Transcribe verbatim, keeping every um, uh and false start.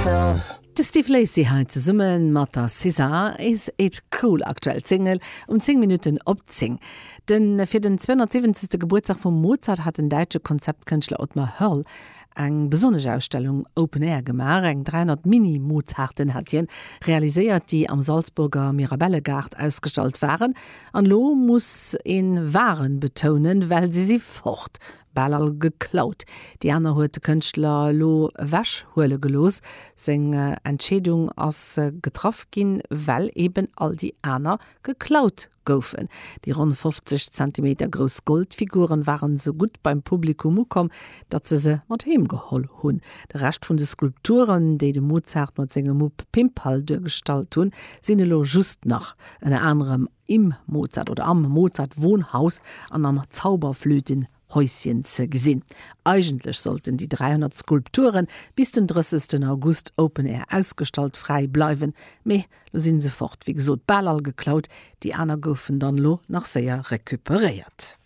myself. De Steve Lacy hei zesumme mat der SZA, Is It Cool, aktuell d'Single um zéng Minutten op zéng. Den fir den zweehonnertsiwwenzegste Gebuertsdag vum Mozart hat den däitsche Konzeptkënschtler Ottmar Hörl eng besonnesch Ausstellung Open Air gemaach. Eng dräihonnert Mini-Mozarten hat hien realiséiert, déi am Salzburger Mirabellegaart ausgestallt waren. An elo muss een waren betounen, well si si fort, bal all geklaut. Déi aner huet de Kënschtler elo ewech huele gelooss. Seng Entscheedung ass getraff ginn, well eben all déi aner geklaut goufen. Déi ronn fofzeg Zentimeter grouss Goldfiguren waren esou gutt beim Publikum ukomm, datt se se mat heem geholl hunn. De Rescht vun de Skulpturen, déi de Mozart mat sengem Mupp Pimperl duergestallt hunn, sinn elo just nach ënner anerem im Mozart oder am Mozart Wohnhaus an am Zauberflöten Häuschen ze gesinn. Eigentlech sollten déi dräihonnert Skulpture bis den drëssegsten August Open Air ausgestallt fräi bleiwen, mee lo sinn se fort. Wéi gesot, bal all geklaut, déi aner goufen dann lo nach séier recuperéiert.